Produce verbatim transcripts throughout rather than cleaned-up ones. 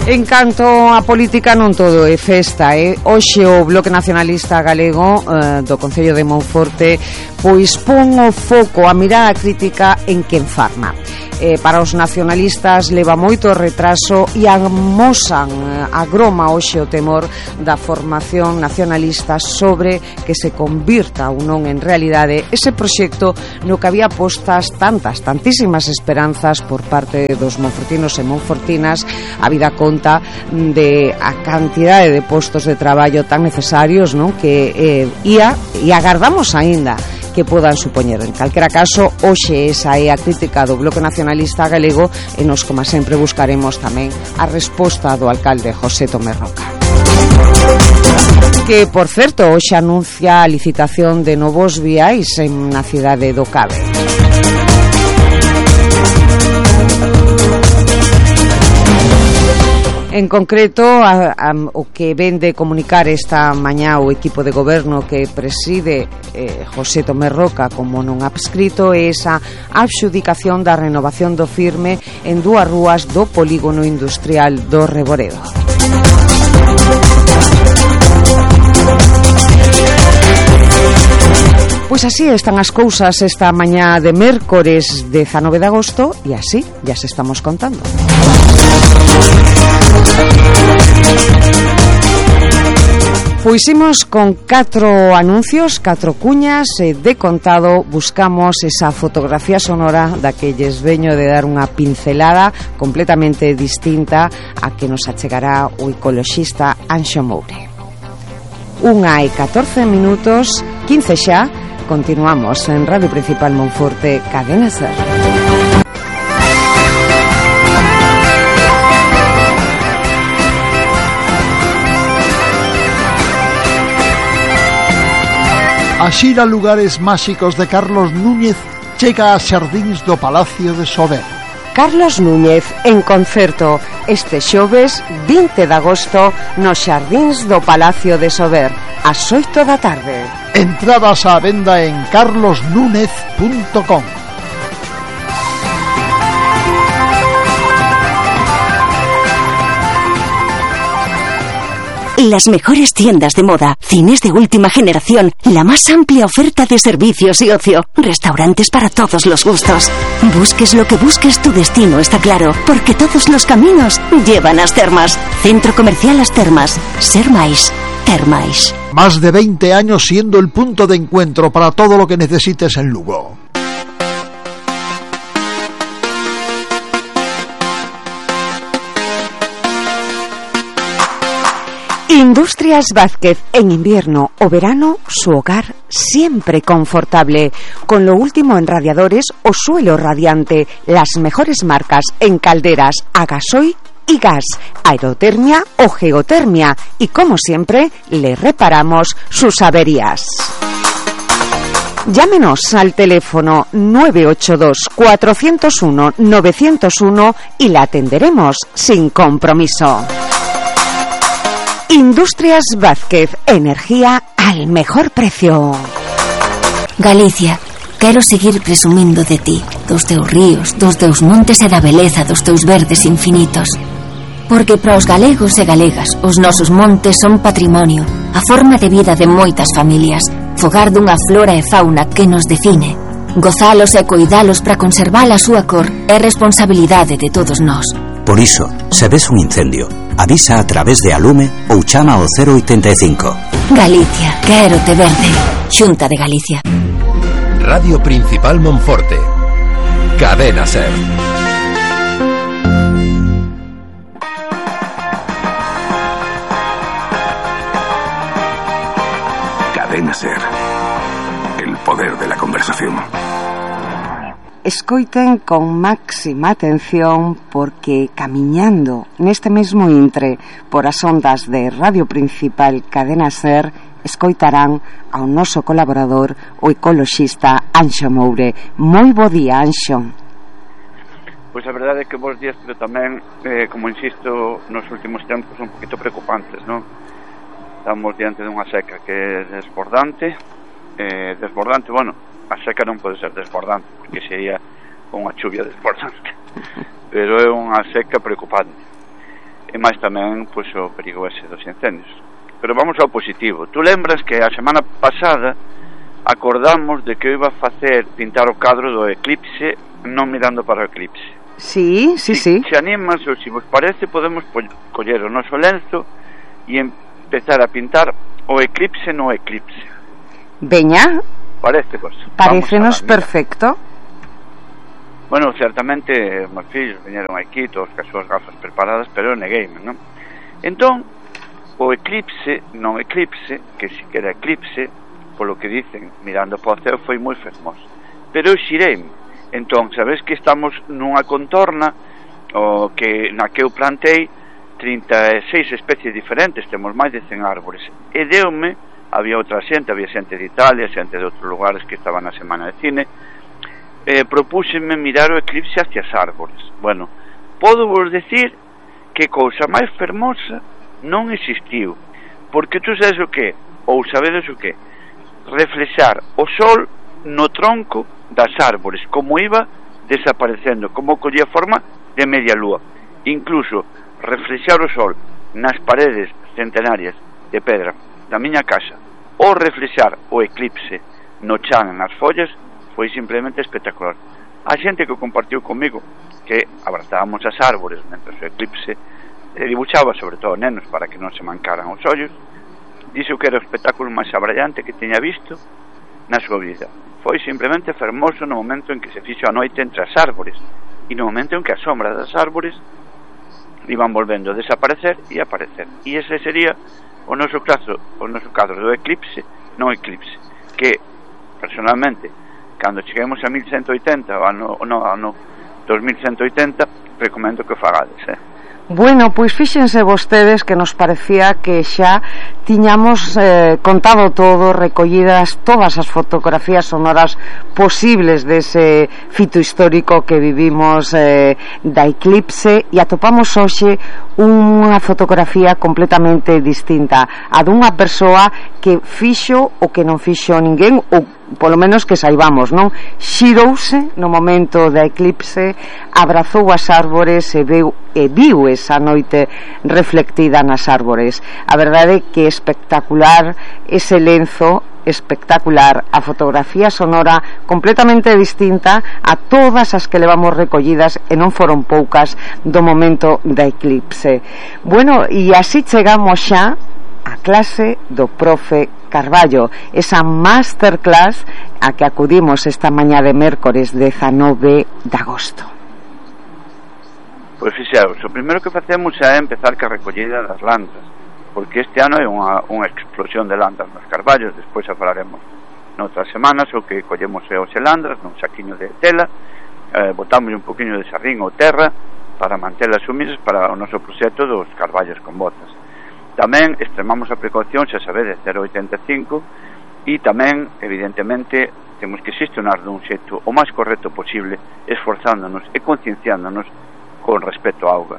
En canto a política, non todo é festa, eh? Hoxe o Bloque Nacionalista Galego eh, do Concello de Monforte pois pon o foco, a mirada crítica en quen farma. Eh, para os nacionalistas leva moito retraso e amosan, eh, agroma hoxe o temor da formación nacionalista sobre que se convirta ou non en realidade ese proxecto no que había postas tantas, tantísimas esperanzas por parte dos monfortinos e monfortinas, a vida conta de a cantidade de postos de traballo tan necesarios, non? Que eh, ia e agardamos aínda que podan supoñer. En calquera caso, hoxe esa é a crítica do Bloque Nacionalista Galego e nos, como sempre, buscaremos tamén a resposta do alcalde José Tomé Roca, que, por certo, hoxe anuncia a licitación de novos viais en na cidade do Cabe. En concreto, a, a, o que ven de comunicar esta mañá o equipo de goberno que preside eh, José Tomé Roca como non adscrito é esa adxudicación da renovación do firme en dúas rúas do polígono industrial do Reboredo. Pois así están as cousas esta mañá de mércores dezanove de agosto e así ya se estamos contando. Pois imos con catro anuncios, catro cuñas e de contado buscamos esa fotografía sonora da que lles veño de dar unha pincelada completamente distinta a que nos achegará o ecoloxista Anxo Moure. Unha e catorce minutos, quince xa, continuamos en Radio Principal Monforte, Cadena Ser. A xira Lugares Máxicos de Carlos Núñez chega a xardíns do Palacio de Sober. Carlos Núñez en concerto este xoves vinte de agosto nos xardíns do Palacio de Sober ás oito da tarde. Entradas á venda en carlos núñez punto com. Las mejores tiendas de moda, cines de última generación, la más amplia oferta de servicios y ocio, restaurantes para todos los gustos. Busques lo que busques, tu destino está claro, porque todos los caminos llevan a As Termas. Centro Comercial As Termas. Ser máis, ter máis. Más de veinte años siendo el punto de encuentro para todo lo que necesites en Lugo. Industrias Vázquez, en invierno o verano, su hogar siempre confortable. Con lo último en radiadores o suelo radiante, las mejores marcas en calderas a gasoil y gas, aerotermia o geotermia. Y como siempre, le reparamos sus averías. Llámenos al teléfono nueve ocho dos, cuatro cero uno, nueve cero uno y la atenderemos sin compromiso. Industrias Vázquez, energía al mejor precio. Galicia, quero seguir presumindo de ti, dos teus ríos, dos teus montes e da beleza dos teus verdes infinitos. Porque para os galegos e galegas, os nosos montes son patrimonio, a forma de vida de moitas familias, fogar dunha flora e fauna que nos define. Gozalos e coidalos para conservar a súa cor é responsabilidade de todos nós. Por iso, se ves un incendio, avisa a través de Alume ou chama ao cero oitenta e cinco. Galicia, quero te verde. Xunta de Galicia. Radio Principal Monforte. Cadena Ser. Cadena Ser. El poder de la conversación. Escoiten con máxima atención porque camiñando neste mesmo intre por as ondas de Radio Principal Cadena Ser escoitarán ao noso colaborador, o ecoloxista Anxo Moure. Moi bo día, Anxo. Pois a verdade é que bons días, pero tamén, eh, como insisto, nos últimos tempos un poquito preocupantes, non? Estamos diante dunha seca que é desbordante, eh, desbordante, bueno, a seca non pode ser desbordante porque sería unha chuvia desbordante, pero é unha seca preocupante. e máis tamén pois, o perigo ese dos incendios. Pero vamos ao positivo. Tú lembras que a semana pasada acordamos de que eu iba a facer pintar o cadro do eclipse non mirando para o eclipse. Sí, sí, si, sí. Se animas ou se vos parece podemos coller o noso lenzo e empezar a pintar o eclipse no eclipse. Veña. Parece vos. Parécenos perfecto. Bueno, certamente meus fillos viñeron aquí todos as súas gafas preparadas, pero eu negueime, non? Entón, o eclipse, non eclipse, que si que era eclipse, polo que dicen, mirando para o ceo, foi moi fermoso. Pero eu xireime. Entón, sabes que estamos nunha contorna o que na que eu plantei trinta e seis especies diferentes, temos máis de cen árbores. E deume, había outra xente, había xente de Italia, xente de outros lugares que estaban na semana de cine, eh, propúxenme mirar o eclipse hacia as árbores. Bueno, podo vos decir que cousa máis fermosa non existiu, porque tú sabes o que, ou sabedes o que, reflexar o sol no tronco das árbores, como iba desaparecendo, como collía forma de media lúa. Incluso reflexar o sol nas paredes centenarias de pedra da miña casa, ou reflexar o eclipse no chan nas follas, foi simplemente espectacular. A xente que compartiu comigo que abrazábamos as árbores mentre o eclipse e dibuixaba, sobre todo nenos, para que non se mancaran os ollos, dixo que era o espectáculo máis abrallante que tiña visto na súa vida. Foi simplemente fermoso no momento en que se fixo a noite entre as árbores e no momento en que as sombras das árbores iban volvendo a desaparecer e aparecer. E ese sería o noso caso, o noso cadro do eclipse, non eclipse, que personalmente, cando cheguemos a mil ciento oitenta, o ano, no, ano dos mil ciento oitenta, recomendo que o fagades, eh? Bueno, pois fíxense vostedes que nos parecía que xa tiñamos eh, contado todo, recollidas todas as fotografías sonoras posibles dese fito histórico que vivimos eh, da eclipse, e atopamos hoxe unha fotografía completamente distinta, a dunha persoa que fixo o que non fixo ninguén, ou polo menos que saibamos, non? Xirouse no momento da eclipse, abrazou as árbores e viu, e viu esa noite reflectida nas árbores. A verdade é que espectacular ese lenzo, espectacular a fotografía sonora, completamente distinta a todas as que levamos recollidas, e non foron poucas, do momento da eclipse. Bueno, e así chegamos xa a clase do profe Carballo, esa masterclass a que acudimos esta mañá de mércores dezanove de agosto. Pois fixaos, o primeiro que facemos é empezar ca recollida das lantas, porque este ano é unha, unha explosión de lantas nos carballos. Despois a falaremos noutras semanas o que collemos é os elandras nun saquiño de tela, eh, botamos un poquinho de sarrín ou terra para mantelas humildes para o noso proxecto dos carballos con botas. Tamén extremamos a precaución, xa sabedes, cero oitenta e cinco, e tamén, evidentemente, temos que xestionar dun xeito o máis correcto posible, esforzándonos e concienciándonos con respecto á auga.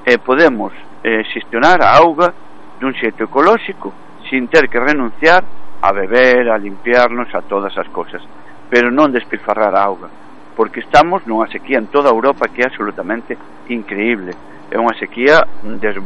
E podemos eh, xestionar a auga dun xeito ecolóxico sin ter que renunciar a beber, a limpiarnos, a todas as cosas, pero non despilfarrar a auga, porque estamos nunha sequía en toda Europa que é absolutamente increíble. É unha sequía, des,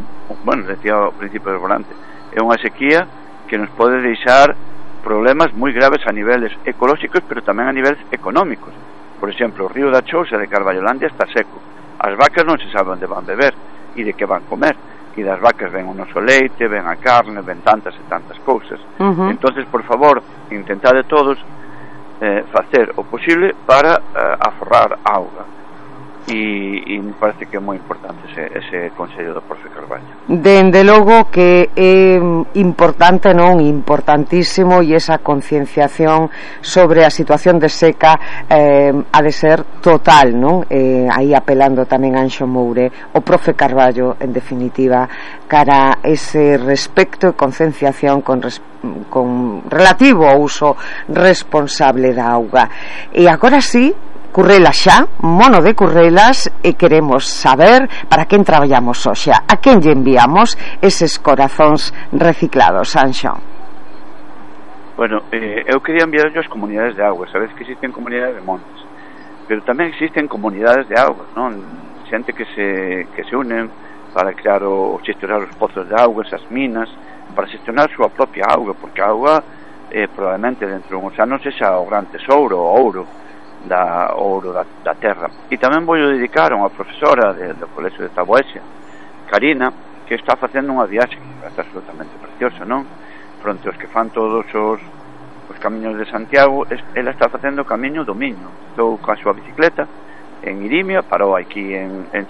bueno, decía ao principio do volante, é unha sequía que nos pode deixar problemas moi graves a niveles ecolóxicos, pero tamén a niveles económicos. Por exemplo, o río da Chousa de Carballolandia está seco, as vacas non se sabe onde van beber e de que van comer, e das vacas ven o noso leite, ven a carne, ven tantas e tantas cousas. Uh-huh. Entonces, por favor, intentade todos eh, facer o posible para eh, aforrar auga. E, e me parece que é moi importante ese, ese consello do profe Carballo. Dende logo que é importante, non? Importantísimo, e esa concienciación sobre a situación de seca eh, ha de ser total, non? Eh, aí apelando tamén a Anxo Moure, o profe Carballo, en definitiva, cara a ese respecto e concienciación con respecto con relativo ao uso responsable da auga. E agora sí, Currelas xa, mono de Currelas, e queremos saber para quen traballamos hoxe, a quen lle enviamos eses corazóns reciclados, Anxo. Bueno, eh, eu quería enviar as comunidades de auga. Sabes que existen comunidades de montes, pero tamén existen comunidades de auga, non? Xente que se, que se unen para crear o, xestionar os pozos de auga, esas minas, para xestionar a súa propia auga, porque a auga eh, probablemente dentro de uns anos sexa o gran tesouro, o ouro da ouro da, da terra. E tamén vou dedicar a unha profesora de, do Colexio de Taboesia, Karina, que está facendo unha viaxe que está absolutamente preciosa, non? Fronte aos que fan todos os, os camiños de Santiago, es, ela está facendo o camiño do Miño. Estou coa súa bicicleta en Irimia, parou aquí en, en